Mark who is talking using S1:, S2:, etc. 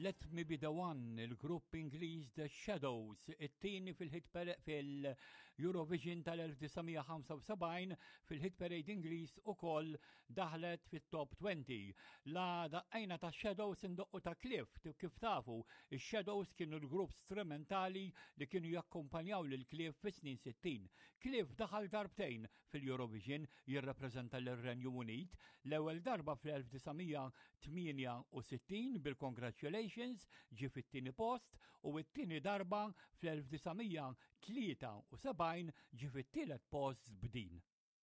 S1: Let Me Be The One, il-grupp Ingliż The Shadows, it-tieni fil-hit fil-Eurovision tal-1975 fil-hit parade Ingliż ukoll daħlet fit-top 20. La daqqajna ta' Shadows indoqqu ta' Cliff, kif tafu, ix-Shadows kienu l-grupp strumentali li kienu jakkumpanjaw lil Cliff fis-snin 60. Cliff daħal darbtejn fil-Eurovision jirrappreżenta lir-Renju Unit, l-ewwel darba fl-1968 bil-Congratulations ġie fit-tieni post u t-tieni darba fl-1973 ġie fit-tielet post b'din.